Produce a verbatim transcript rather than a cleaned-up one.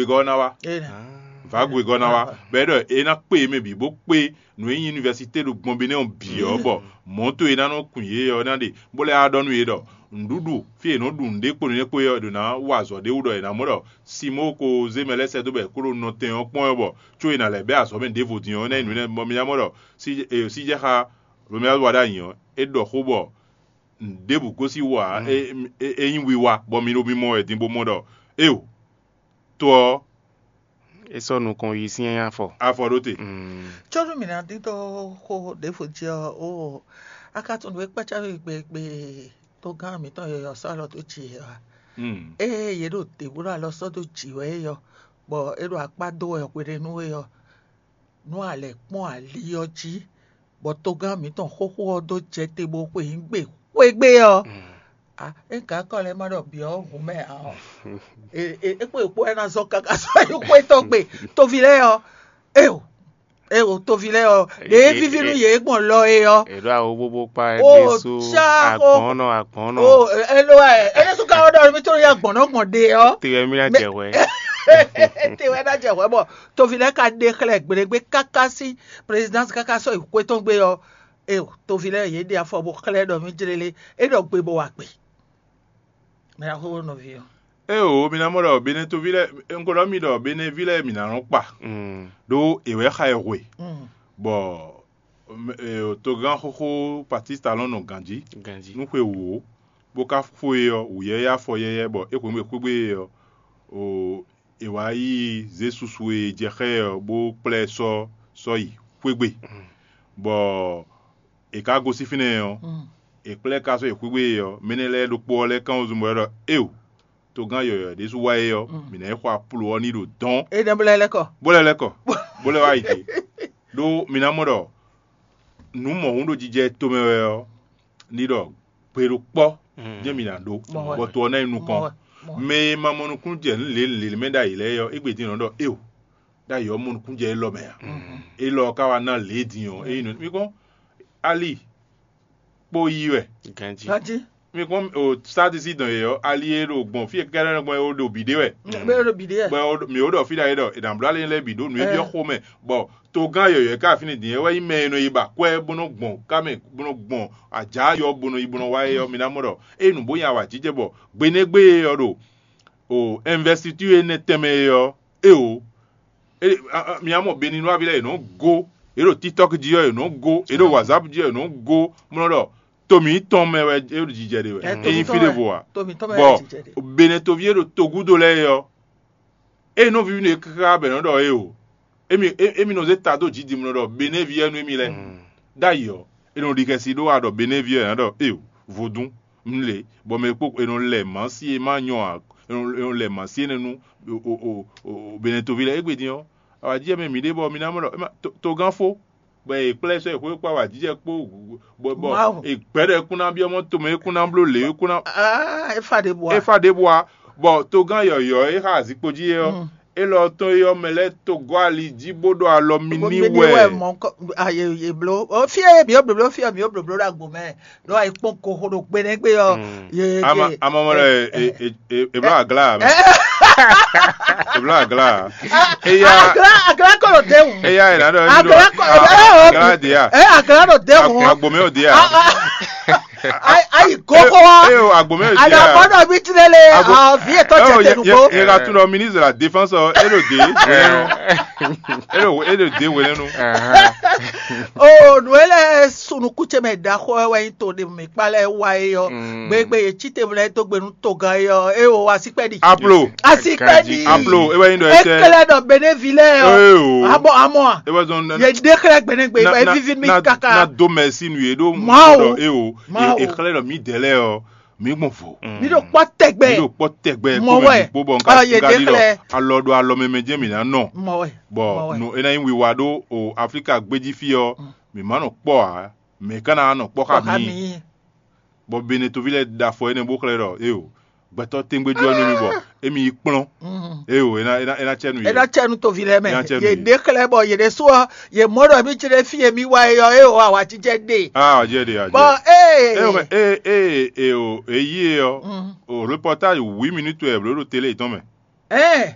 Gɔ́ ná wá. Vǎgwegɔ́ ná wá, bɔ é ɖɔ é ná kpé yě mɛ bǐ bó kpé nǔ e nyí univɛsité ɖo gbɔn Benɛ́ɛ ɔ́ bǐ ɔ́, bɔ mɔ̌to e ná nɔ kun yě ɔ́ ná ɖe, bó lɛ́ wá ɖɔ nú yě ɖɔ nǔɖuɖu fí e è nɔ ɖu nǔɖé kpo nǔɖé kpo é ɔ́, è ɖǒ ná wa azɔ̌ ɖé wú ɖɔ è nǎ mɔ ɖɔ Simoo ko zé mɛ lɛ́ɛ sɛ́ dó bɔ è kó ɖo nɔ tɛn ɔ́ kpɔ́n wɛ, bɔ có è nǎ lɛ̌ bɛ́ azɔ̌ mɛ ɖěvo din ɔ́, é ná nyí nǔ énɛ́. Bɔ mi ná mɔ ɖɔ síjɛxá Lomɛ́ wa ɖó anyi ɔ́, é ɖɔ xó bɔ nǔɖěbǔ gosín wú ǎ; é nyí wiwa, bɔ mi ɖo mimɔ wɛ din bó mɔ ɖɔ éeǒ, to ɔ́, é sɔ́ nukɔn yi sín afɔ. Afɔ ɖó te. Có nú mǐ ná dídó xó ɖěvo jí ɔ́, ó, a ka tunwun nǔ e kpácá we gbe gbe togán mǐtɔn yɔyɔ sɔ́ alɔ dó jǐ é ɔ́ a? Ée yě ɖo dě bó ɖo alɔ sɔ́ dó jǐ wɛ é ɔ́, bɔ é ɖo akpá dó wɛ hweɖénu é ɔ́, nú a lɛ̌ kpɔ́n ali ɔ́ jí, bɔ togán mǐtɔn xóxó ɔ́ dó jɛ te bó xwe nyǐgbe xwé gbe ɔ́, a é gǎn kɔ lɛ́ɛ ma ɖɔ bǐ ɔ́ hun mɛ ǎ ɔ́, é kpo è kpo wɛ ná zɔ́n káká sɔ́ yi xwé tɔn gbe toví lɛ́ɛ ɔ́, éeǒ, éeǒ, toví lɛ́ɛ ɔ́, ɖě é víví nú yě gbɔn lɔ é ɔ́. È ɖó awo bóbó kpá ɛ ó ɖésú. Cá xó. Agbɔ̌nnɔ agbɔ̌nnɔ. Ó, é ló wɛ é ɖésú ka wɛ ɖɔ mi tó yá gbɔ̌n nɔ gbɔn ɖe ɔ́. Te wɛ mí ná jɛ hwɛ. Te wɛ ná jɛ hwɛ bɔ toví lɛ́ɛ ka ɖe xlɛ́ gbeɖégbé káká sín présidence káká sɔ́ yi xwé tɔn gbe ɔ́, é toví lɛ́ɛ yě ɖe afɔ bó xlɛ́ ɖɔ mí jlélé, é ɖɔ gbe bó wa gbe. Mɛ ná xóxó nɔví ɔ́. Éeǒ, mi ná mɔ ɖɔ Benɛtoví lɛ́ɛ, un ko ɖɔ mi ɖɔ Benɛví lɛ́ɛ mǐ ná nɔ kpa, ɖó è wɛ xa ɛ hwe, bɔ togán xóxó Patistalɔ́n nɔ ganjí nú xwe wǒ, bó ka xo e ɔ́, wǔyɛ́yɛ́ afɔ yɛ́yɛ́, bɔ é hwenu e xwé gbe e ɔ́, è wǎ yi zě susu e è jɛ xá ɛ ɔ́, bó kplá ɛ sɔ́ sɔ́ yi xwé gbe, bɔ è ka gosín fínɛ́ ɔ́, è kplá ɛ ka sɔ́ yi xwé gbe ɔ́, mɛ énɛ́ lɛ́ɛ ɖokpó ɔ́ lɛ́ kán wezun bɔ é ɖɔ: Éeǒ, togán yɔ̌yɔ́ ɖésú wá é ɔ́, mǐ ná yi xɔ aplo ɔ́ ní ɖo dɔ̌n. É nɛ́ bó lɛ́ lɛ́ kɔ. Bó lɛ́ lɛ́ kɔ, bó lɛ́ wá yi te. Ɖó mi ná mɔ ɖɔ nǔ mɔ̌hun ɖo jijɛ tomɛ wɛ ɔ́, ní ɖɔ gbe ɖo kpɔ́ jɛ́n mi ná ɖó, bɔ to ɔ́ ná yi nukɔn. Mɛ e ma mɔ nukúnnú jɛ nǔ lě lě mɛ ɖ'ayǐ lɛ́ɛ ɔ́, égbé din nɔ ɖɔ éeǒ, ɖ'ayǐ ɔ́ mɔ nukúnnú jɛ élɔ́ mɛ ǎ. Élɔ́ ɔ́ ka wá ná lě din ɔ́, é nyí nǔ mi kpɔ́n ali kpó yí wɛ. Ganjí. Ganjí. Mi kpɔ́n o sátisí dɔn yě ɔ́, ali e ɖo gbɔn fí e kɛ́ɖɛ́ gbɔn é ɖo bǐ ɖé wɛ. Bɛ ɖo bǐ ɖé wɛ. Bɔ mǐ ó ɖɔ fí ɖ'ayǐ ɖɔ è nǎ bló ali lɛ́ɛ bǐ ɖó nǔ e byɔ́ xomɛ, bɔ togán yɔ̌yɔ́ e ka fínɛ́ din é wɛ nyí mɛ e nɔ yi ba akwɛ́ bó nɔ gbɔn ká mɛ bó nɔ gbɔn ajǎ yɔ bó nɔ yi bó nɔ wá é ɔ́, mi ná mɔ ɖɔ ée nǔ bó nyi awǎjijɛ bɔ gbenégbé e ɔ́ ɖo o ɛnvɛsitúr énɛ́ tɛnmɛ é ɔ́, éeǒ, mi ná mɔ Beninúaví lɛ́ɛ yě nɔ́ gó, yě ɖo TikTɔ́k jí ɔ́, yě nɔ́ gó, yě ɖo WhatsApp jí ɔ́, yě nɔ́ gó, mlɔ́ ɖɔ to mǐtɔn mɛ wɛ é ɖo jijɛ ɖe wɛ. É nyí fí ɖěvo ǎ. Bɔ Benɛtoví e ɖo togúdo lɛ́ɛ é ɔ́, ée nɔ víví nú yě káká bɔ è nɔ ɖɔ éeǒ, émi nɔ zé ta dó jǐ dimlɔ ɖɔ Benɛ́ví wɛ nú émi lɛ́ɛ. Ɖ'ayǐ ɔ́, è nɔ ɖi xɛsi ɖó wa ɖɔ Benɛ́ví wɛ è nǎ ɖɔ éeǒ, vodún, un le, bɔ mɛ kpó è nɔ lɛ mǎsi e ma nyɔ ǎ, è nɔ lɛ mǎsi énɛ́ nú Benɛtoví lɛ́ɛ. Égbé din ɔ́, awǎjijɛ mɛ mǐ ɖe bɔ mi ná mɔ ɖɔ togán fó, bɔ è kplá ɛ sɔ́ yi xwé kpó awǎjijɛ kpó, bɔ è gbɛ̌ ɖɔ é kún ná byɔ́ mɔ tomɛ, é kún ná bló lě, é kún ná. É fa ɖěbǔ ǎ. É fa ɖěbǔ ǎ, bɔ togán yɔ̌yɔ́ e xa azikpo jí é ɔ́, élɔ́ tɔn é ɔ́, mɛ lɛ́ɛ to gɔ́ ali jí bó ɖo alɔ mi ní wɛ. Mɔ yě bló fí e mǐ ó blǒbló fí ɔ́, mǐ ó blǒbló ɖo agbo mɛ, ɖó ayǐ kpɔ́n goxo ɖo gbe nɛ́ gbe ɔ́. Amamɔ lɛ è bló aglá. È bló aglá. Eya aglá kɔ ɖo dé wù. Eya è nǎ ɖɔ agla kɔ aglá dè ya. Ɛ agla ɖo dé wù. Agbo mɛ ò dè ya. Ayi gogo wa. Eyo agbo mɛ ò dè ya. Agabɔ dɔ bi ti lele. Avi etɔ jɛ tenu ko. Yɛ ka tún ɖɔ ministre de la défense ɔ, e ɖo dé wɛlɛnu. E ɖo e ɖo dé wɛlɛnu. O nǔ e lɛ sunukútsɛmɛ ɖaxɔ wɛ nyi to ɖe mǐ kpa lɛ wa é ɔ́, gbegbe yě cí te lɛ dó gbe nú togán é ɔ́, é o asikpɛ́ ɖi. Aplo. Asikpɛ́ ɖi. Aplo, e wɛ nyi ɖɔ é tɛ. Ékɛlɛ ɖɔ benévi lɛ ɔ́. Abɔ amɔ a. E wɛ zɔn. Yě ɖe xlɛ gbɛnɛgbɛ ba vivi mi kaka. Na do mɛ si nu yě ɖo mɔ ɖɔ é o. E xlɛ ɖɔ mí dɛ lɛ ɔ́, mí gbɔn vo. Mí ɖo kpɔ tɛgbɛ. Mí ɖo kpɔ tɛgbɛ kó mɛ kpó bɔ nka ɖi ɖɔ alɔ ɖo alɔ mɛ mɛ jɛ mǐ ná nɔ. Bɔ no e ná nyí wiwa ɖó o Aflíka gbéjí fí ɔ́, mǐ má nɔ kpɔ ǎ. Mɛ ka ná nɔ kpɔ́ xá mǐ. Bɔ Benetoví lɛ́ɛ ɖo afɔ énɛ́ bó xlɛ́ ɖɔ éyo, gbɛtɔ́ tɛ́ngbéjú ɔ́ nú mì bɔ émí yi kplɔ́n. Éyo, é ná é ná é ná cɛ nú yě. É ná cɛ nú toví lɛ́ɛ mɛ. Yě ɖe xlɛ́ bɔ yě ɖésú ɔ́, yě mɔ ɖɔ mí jlé fí e mí wá é ɔ́, é o awǎjijɛ ɖe. Ah, awǎjijɛ ɖe, awǎjijɛ. Bɔ ee. Éyo mɛ ee ee ee o èyí e ɔ́, o reportage huit minutes wɛ blǒ ɖo télé yětɔn mɛ. Ɛɛ.